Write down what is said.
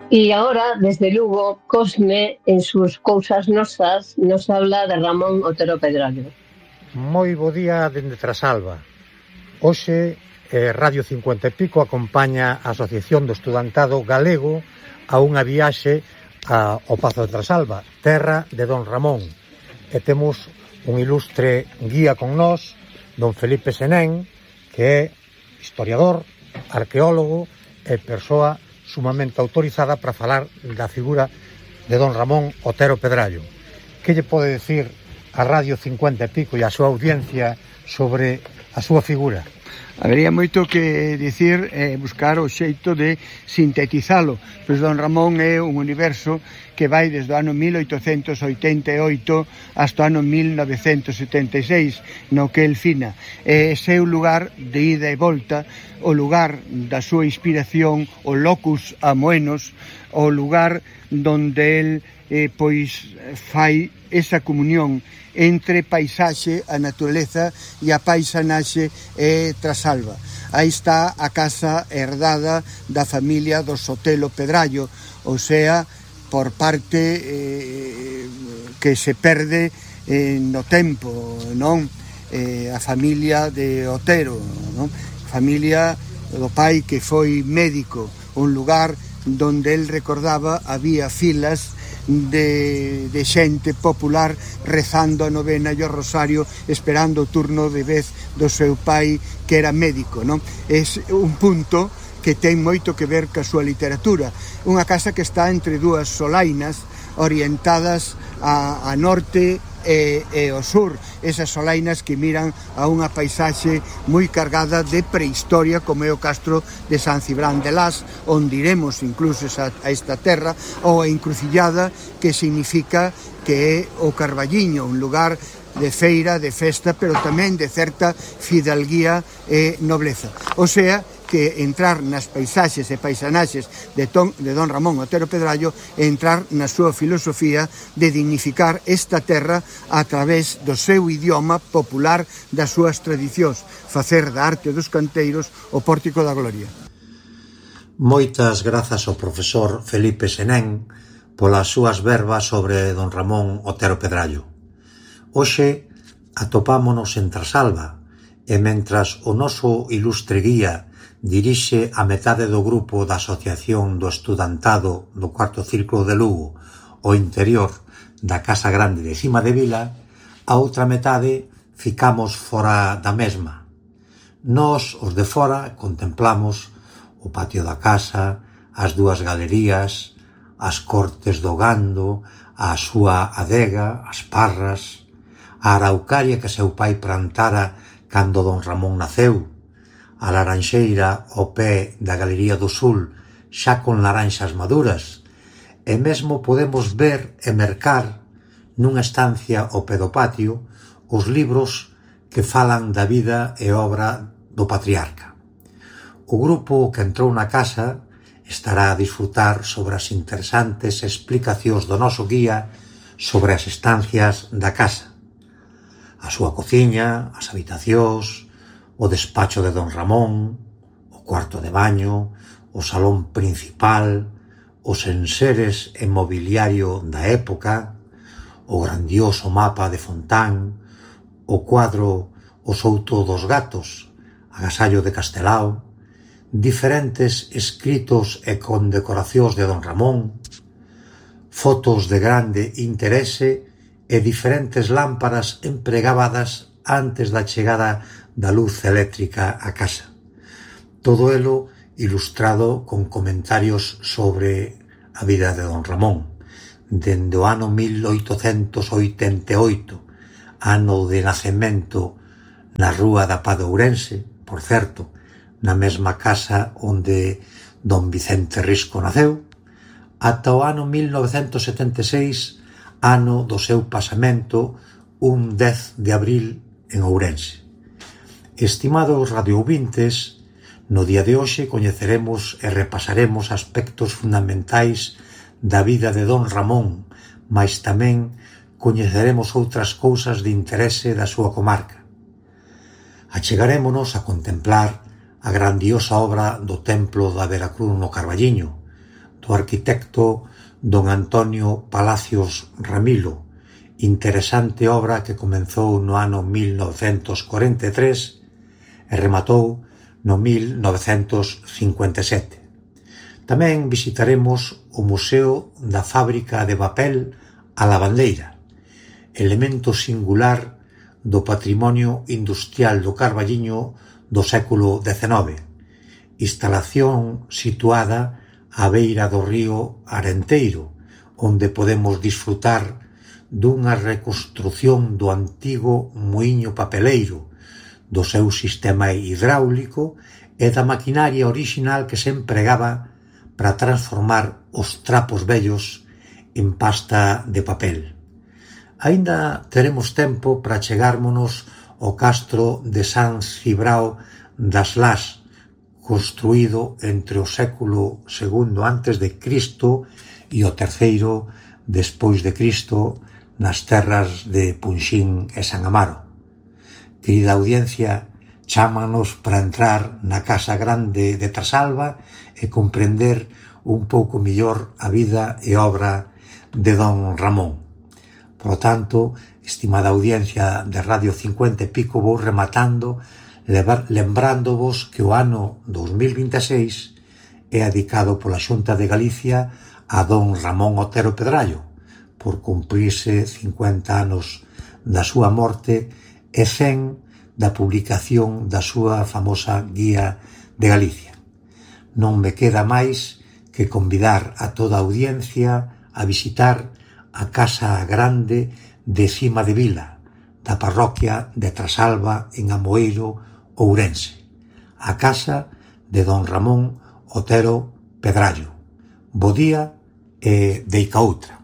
Y ahora, desde Lugo, Cosme, en sus Cousas Nosas, nos habla de Ramón Otero Pedrallo. Moi bo día dende Trasalba. Hoxe, Radio 50 e Pico acompaña a Asociación do Estudantado Galego a unha viaxe ao Pazo de Trasalba, terra de Don Ramón. E temos un ilustre guía con nós, Don Felipe Senén, que é historiador, arqueólogo e persoa sumamente autorizada para falar da figura de Don Ramón Otero Pedrallo. Que lle pode decir a Radio 50 e Pico e a súa audiencia sobre a súa figura? Habería moito que dicir buscar o xeito de sintetizalo, pois Don Ramón é un universo que vai desde o ano 1888 hasta o ano 1976, no que el fina. Ese é o lugar de ida e volta, o lugar da súa inspiración, o locus amoenos, o lugar donde el pois fai esa comunión entre paisaxe, a naturaleza e a paisanaxe Trasalba. Aí está a casa herdada da familia do Sotelo Pedrallo, ou sea, por parte que se perde no tempo, non? A familia de Otero, non? Familia do pai que foi médico, un lugar donde el recordaba había filas de xente popular rezando a novena e o rosario, esperando o turno de vez do seu pai que era médico, non? É un punto que ten moito que ver ca súa literatura. Unha casa que está entre dúas solainas orientadas a norte e ao sur, esas solainas que miran a unha paisaxe moi cargada de prehistoria, como é o castro de San Cibrán de Las, onde iremos incluso a esta terra, ou a Encrucillada, que significa que é o Carballiño, un lugar de feira, de festa, pero tamén de certa fidalguía e nobleza. O sea, que entrar nas paisaxes e paisanaxes de Don Ramón Otero Pedrallo e entrar na súa filosofía de dignificar esta terra a través do seu idioma popular, das súas tradicións, facer da arte dos canteiros o pórtico da gloria. Moitas grazas ao profesor Felipe Senén polas súas verbas sobre Don Ramón Otero Pedrallo. Hoxe atopámonos en Trasalba e mentras o noso ilustre guía dirixe a metade do grupo da Asociación do Estudantado do Cuarto Círculo de Lugo ao interior da Casa Grande de Cima de Vila, a outra metade ficamos fora da mesma. Nós, os de fora, contemplamos o patio da casa, as dúas galerías, as cortes do gando, a súa adega, as parras, a araucaria que seu pai plantara cando Don Ramón naceu, a laranxeira ao pé da Galería do Sul, xa con laranxas maduras, e mesmo podemos ver e mercar nunha estancia ao pé do patio os libros que falan da vida e obra do patriarca. O grupo que entrou na casa estará a disfrutar sobre as interesantes explicacións do noso guía sobre as estancias da casa, a súa cociña, as habitacións, o despacho de Don Ramón, o cuarto de baño, o salón principal, os enseres e mobiliario da época, o grandioso mapa de Fontán, o cuadro O Souto dos Gatos, agasallo de Castelao, diferentes escritos e condecoracións de Don Ramón, fotos de grande interese e diferentes lámparas empregadas antes da chegada da luz eléctrica á casa. Todo elo ilustrado con comentarios sobre a vida de Don Ramón, dende o ano 1888, ano de nacemento na Rúa da Pá de Ourense, por certo, na mesma casa onde Don Vicente Risco naceu, ata o ano 1976, ano do seu pasamento, un 10 de abril en Ourense. Estimados radioouvintes, no día de hoxe coñeceremos e repasaremos aspectos fundamentais da vida de Don Ramón, mais tamén coñeceremos outras cousas de interese da súa comarca. Achegarémonos a contemplar a grandiosa obra do Templo da Veracruz no Carballiño, do arquitecto don Antonio Palacios Ramilo, interesante obra que comezou no ano 1943 e rematou no 1957. Tamén visitaremos o Museo da Fábrica de Papel A Lavandeira, elemento singular do patrimonio industrial do Carballiño do século XIX, instalación situada á beira do río Arenteiro, onde podemos disfrutar dunha reconstrución do antigo muiño papeleiro, do seu sistema hidráulico e da maquinaria orixinal que se empregaba para transformar os trapos vellos en pasta de papel. Aínda teremos tempo para chegármonos ao castro de San Cibrao das Las, construído entre o século II antes de Cristo e o III despois de Cristo nas terras de Punxín e San Amaro. Querida audiencia, chámanos para entrar na Casa Grande de Trasalba e comprender un pouco mellor a vida e obra de don Ramón. Por lo tanto, estimada audiencia de Radio 50 e pico, vou rematando lembrándovos que o ano 2026 é dedicado pola Xunta de Galicia a don Ramón Otero Pedrallo, por cumprirse 50 anos da súa morte e 100 da publicación da súa famosa Guía de Galicia. Non me queda máis que convidar a toda a audiencia a visitar a Casa Grande de Cima de Vila, da parroquia de Trasalba en Amoeiro, Ourense, a casa de don Ramón Otero Pedrallo. Bo día e deica outra.